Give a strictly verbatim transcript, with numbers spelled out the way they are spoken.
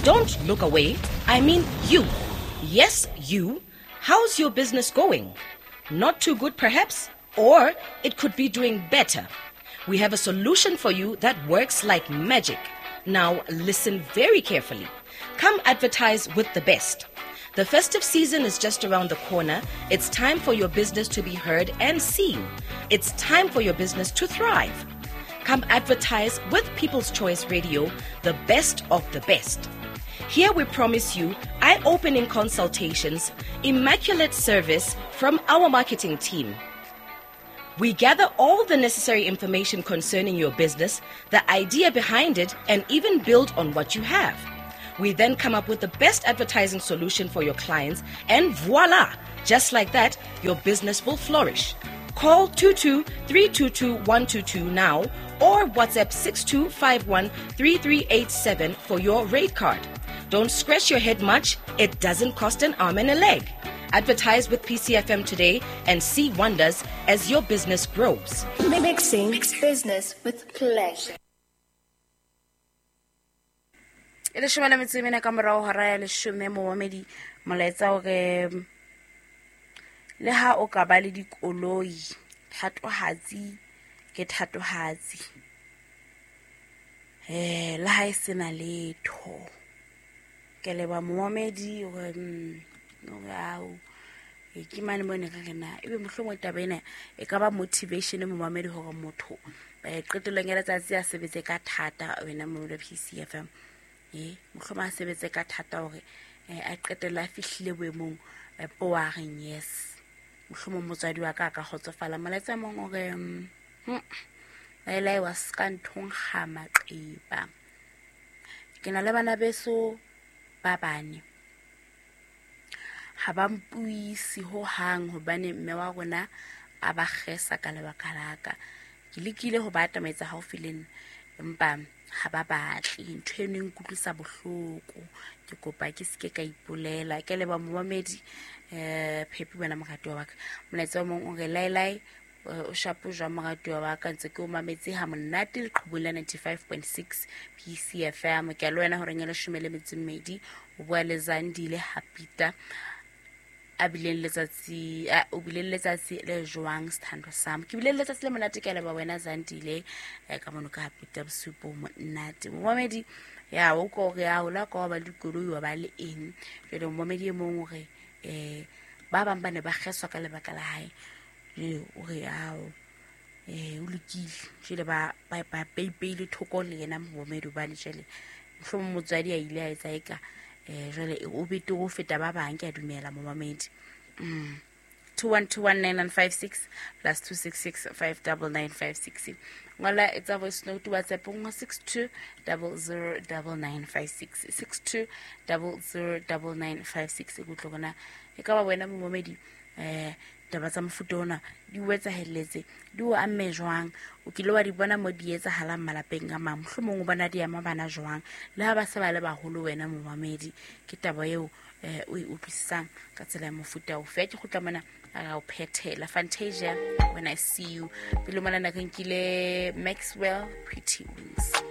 Don't look away. I mean you. Yes, you. How's your business going? Not too good, perhaps? Or it could be doing better. We have a solution for you that works like magic. Now, listen very carefully. Come advertise with the best. The festive season is just around the corner. It's time for your business to be heard and seen. It's time for your business to thrive. Come advertise with People's Choice Radio, the best of the best. Here we promise you eye opening consultations, immaculate service from our marketing team. We gather all the necessary information concerning your business, the idea behind it, and even build on what you have. We then come up with the best advertising solution for your clients, and voila! Just like that, your business will flourish. Call two two three two two one two two now or WhatsApp six two five one three three eight seven for your rate card. Don't scratch your head much, it doesn't cost an arm and a leg. Advertise with P C F M today and see wonders as your business grows. Mixing business with pleasure. E leshome le metso e mene ka morao hora ya leshome momamedi molaetsa hore le ha o ka ba le dikoloi thatohatsi ke thatohatsi eh le ha e sena letho ke leba momamedi hore no e ke mane mo ne ka rena ebe mohlomong taba ena e ka ba motivation momamedi hore motho eh qetellong ya letsatsi a sebetse ka thata wena mo P C F M e mohlomong a sebetse ka thata hore a qetella a fihlile boemong po wa reng yes mohlomong motswadi wa ka ka kgotsofala molaetsa mong hore laela wa ska nthong ga maqeba ke na le bana beso ba bane ha ba mpuisi ho hang hobane mme wa rona a ba kgesa ka lebaka la ka ke lekile ho ba atametsa haufi le nna empa ha ba batle ntho eno e nkutlwisa bohloko ke kopa ke seke ka ipolela ke leba momamedi eh Phepi wena moratuwa wa ka molaetsa o mong o re laelai o shapo jwa moratuwa wa ka ntse ke o mametse ha monate leqhubong la ninety-five point six P C F M ke a le wena horeng ya leshome le metso e mmedi o bua le Zandile Hapita a bileng letsatsi o bileng letsatsi le jwang sithando sam ke bile letsatsi le monate ke leba wena Zandile ka mono ka Hapita bosupo monate momamedi ya o ko re ya hola ka ba dikoloi wa ba le eng jwale momamedi e mong hore eh ba bang ba ne ba kgeswa ka lebaka la hae le o re ao eh o lokile jwale ba ba ba peipele thoko le yena momamedi ba le jwale mohlomong motswadi a ile a etsa eka eh jwale o bete go feta ba bang ke a dumela momamedi mm two one two one nine nine five six plus two six six five nine nine five six ngola etsa voice note WhatsApp ngo six two zero zero nine nine five six six two zero zero nine nine five six go tlogona e ka ba wena momamedi eh taba tsa mofuta ona di o etsahelletse di o amme jwang o kile wa di bona mo di etsahalang malapeng a mang mohlomong o bona di ama bana jwang le ha ba se ba le baholo wena momamedi ke taba eo eh o e utlwisisang ka tsela ya mofuta ofe ke kgutla mona a o phethela Fantasia When I See You pele mona na re nkile Maxwell Pretty Wings.